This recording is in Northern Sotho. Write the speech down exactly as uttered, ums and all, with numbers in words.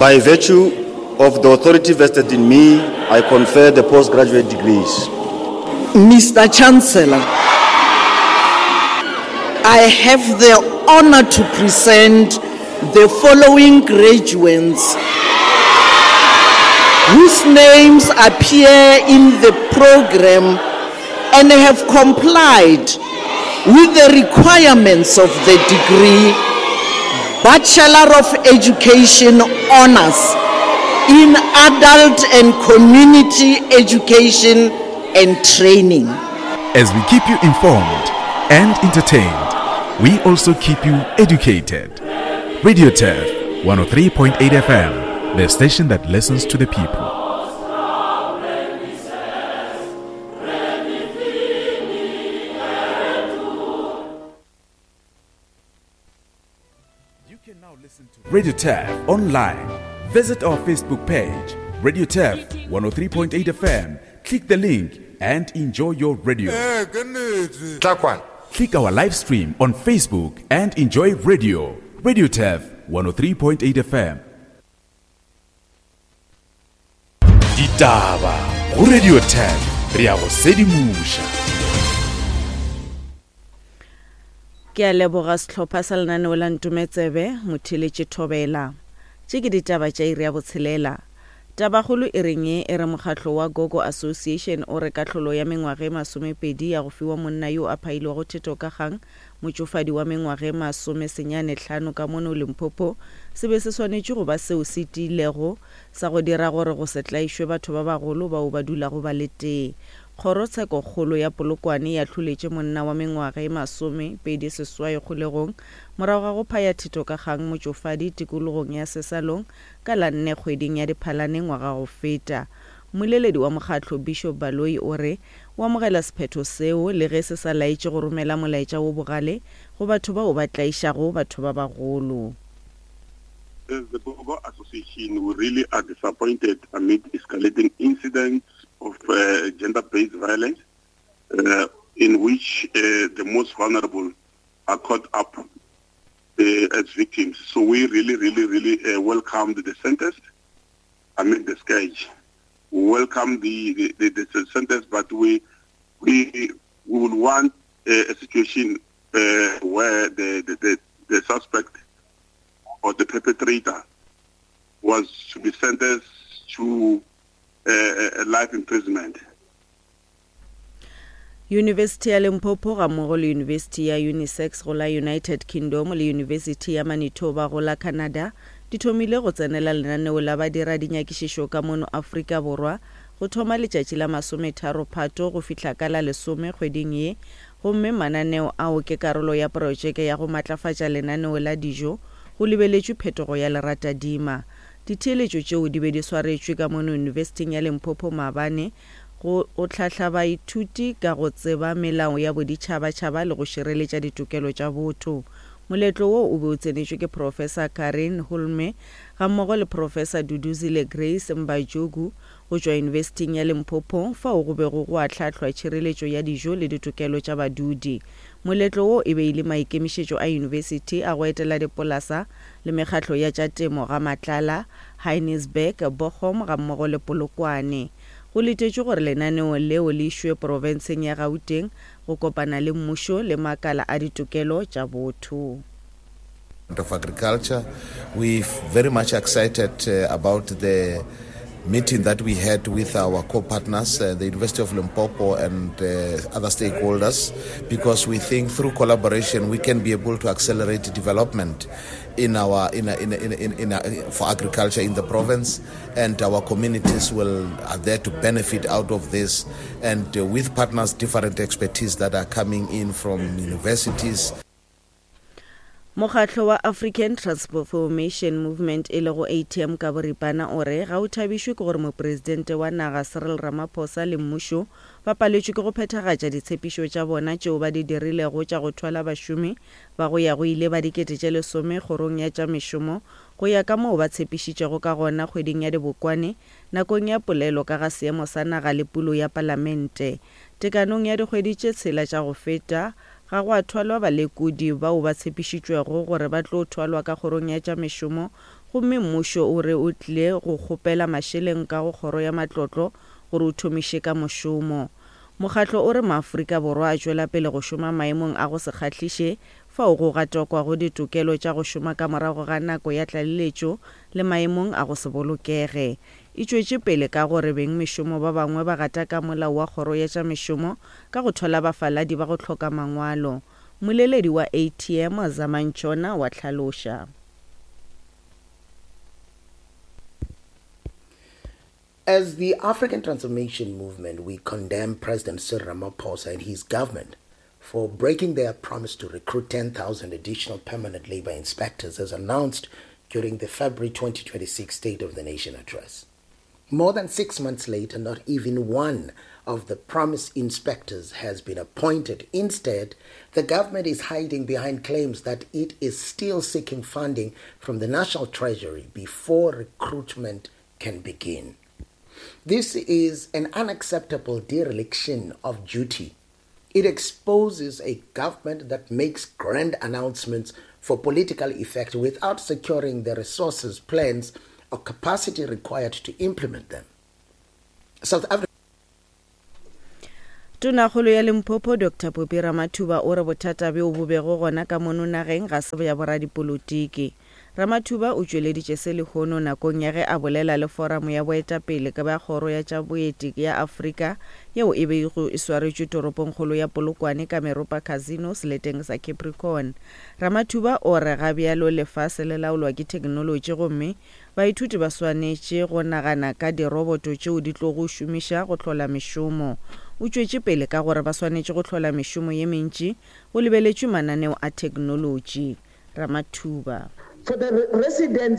By virtue of the authority vested in me, I confer the postgraduate degrees. Mister Chancellor, I have the honor to present the following graduates whose names appear in the program and have complied with the requirements of the degree Bachelor of Education Honors in Adult and Community Education and Training. As we keep you informed and entertained, we also keep you educated. Radio Turf one oh three point eight F M, the station that listens to the people. You can now listen to Radio Turf online. Visit our Facebook page, Radio Turf one oh three point eight F M. Click the link and enjoy your radio. Click our live stream on Facebook and enjoy radio. Radio Turf one oh three point eight F M. Ditaba go Radio Turf, re a go sedimoša. Ke a leboga sehlopha sa lenaneo la Ntometsebe, motheletše Thobela. Tše ke ditaba tša iri ya botshelela. Tabakgolo e reng ye e re mokgatlo wa Gogo Association o re kahlolo ya mengwaga e masomepedi ya go fiwa monna yo a phailwego theto ka kgang, motšofadi wa mengwaga e masomesenyane hlano ka mono Limpopo, se be se swanetše go ba seo se tiilego sa go dira gore go se tlaišwe batho ba bagolo bao ba dulago ba le tee. Kgorotshekokgolo ya Polokwane ya hloletše monna wa mengwaga e masomepedi seswai kgolegong morago ga go phaya theto ka kgang motšofadi tikologong ya Sesalong ka la nne kgweding ya Diphalane ngwaga go feta. Mmoleledi wa mokgatlo Bishop Baloyi o re o amogela sephetho seo le ge se sa laetše go romela molaetša wo bogale go batho bao ba tlaišago batho ba bagolo. As the Gogo Association, we really are disappointed amid escalating incidents of uh, gender-based violence, uh, in which uh, the most vulnerable are caught up uh, as victims. So we really, really, really uh, welcomed the sentence amid the scourge. We welcome the, the, the, the sentence, but we, we, we would want a, a situation uh, where the, the, the, the suspect or the perpetrator was to be sentenced to a, a life imprisonment. University ya Limpopo gammogo le University ya Unisex go la United Kingdom le University ya Manitoba go la Canada di thomile go tsenela lenaneo la badira dinyakišišo ka mono Afrika Borwa go thoma letšatši la masometharo Phato go fihla ka la lesome kgweding ye, gomme mananeo ao ke karolo ya projeke ya go matlafatša lenaneo la dijo go lebeletšwe phetogo ya leratadima. Ditheeletšo tšeo di be di swaretšwe ka mono University ya Limpopo maabane go go hlahla baithuti ka go tseba melao ya boditšhabatšhaba le go šireletša ditokelo tša botho. Moletlo wo o be o tsenetšwe ke Professor Karen Hulme gammogo le Professor Duduzile Grace Mbajogu go tšwa University ya Limpopo, fao go bego go ahlahlwa tšhireletšo ya dijo le ditokelo tša badudi. Moletlo wo e be e le maikemišetšo a university a go etela dipolasa le mekgatlo ya tša temo ga Matlala, Heinisberg, Bochum gammogo le Polokwane. Go letetšwe gore lenaneo leo le išwe profenseng ya Gauteng go kopana le mmušo le makala a ditokelo tša botho. Of Agriculture, we're very much excited uh, about the meeting that we had with our co-partners, uh, the University of Limpopo and uh, other stakeholders, because we think through collaboration we can be able to accelerate development in our in a, in a, in a, in, in a, for agriculture in the province, and our communities will are there to benefit out of this, and uh, with partners, different expertise that are coming in from universities. Mokgatlo wa African Transformation Movement e lego A T M ka boripana o re ga o thabišwe ke gore mopresidente wa naga Cyril Ramaphosa le mmušo ba paletšwe ke go phethagatša ditshepišo tša bona tšeo ba di dirilego tša go thwala bašomi ba go ya go ile ba dikete tše lesome kgorong ya tša mešomo go ya ka moo ba tshepišitšego ka gona kgweding ya Dibokwane nakong ya polelo ka ga seemo sa naga le pulo ya palamente. Tekanong ya dikgwedi tše tshela tša go feta Ga go a thwalwa balekodi bao ba tshepišitšwego gore ba tlo thwalwa ka kgorong ya tša mešomo gomme mmušo o re o tlile go kgopela mašeleng ka go kgoro ya matlotlo gore o thomiše ka mošomo. Mokgatlo o re Maafrika Borwa a tšwela pele go šoma maemong a go se kgahliše fao go gatakwago ditokelo tša go šoma ka morago ga nako ya tlaleletšo le maemong a go se bolokege. E tšwetše pele ka gore bengmešomo ba bangwe ba gataka molao wa kgoro ya tša mešomo ka go thwala bafaladi ba go hloka mangwalo. Mmoleledi wa A T M Zama Ntshona wa hlaloša. As the African Transformation Movement, we condemn President Cyril Ramaphosa and his government for breaking their promise to recruit ten thousand additional permanent labor inspectors as announced during the February twenty twenty-six State of the Nation address. More than six months later, not even one of the promised inspectors has been appointed. Instead, the government is hiding behind claims that it is still seeking funding from the National Treasury before recruitment can begin. This is an unacceptable dereliction of duty. It exposes a government that makes grand announcements for political effect without securing the resources, plans, or capacity required to implement them. South Africa Tonakgolo ya Limpopo Doctor Phophi Ramathuba o re bothata bjo bo bego gona ka mono nageng ga se bja boradipolotiki. Ramathuba o tšweleditše se lehono nakong ya ge a bolela le foramo ya boetapele ka bja kgoro ya tša boeti ya Afrika yeo e bego e swaretšwe toropongkgolo ya Polokwane ka Meropa Casino seleteng sa Capricorn. Ramathuba o re ga bjalo lefase le laolwa ke theknolotši gomme baithuti ba swanetše go nagana ka diroboto tšeo di tlogo šomiša go hlola mešomo. O tšwetše pele ka gore ba swanetše go hlola mešomo ye mentši go lebeletšwe mananeo a theknolotši. Ramathuba. For the residents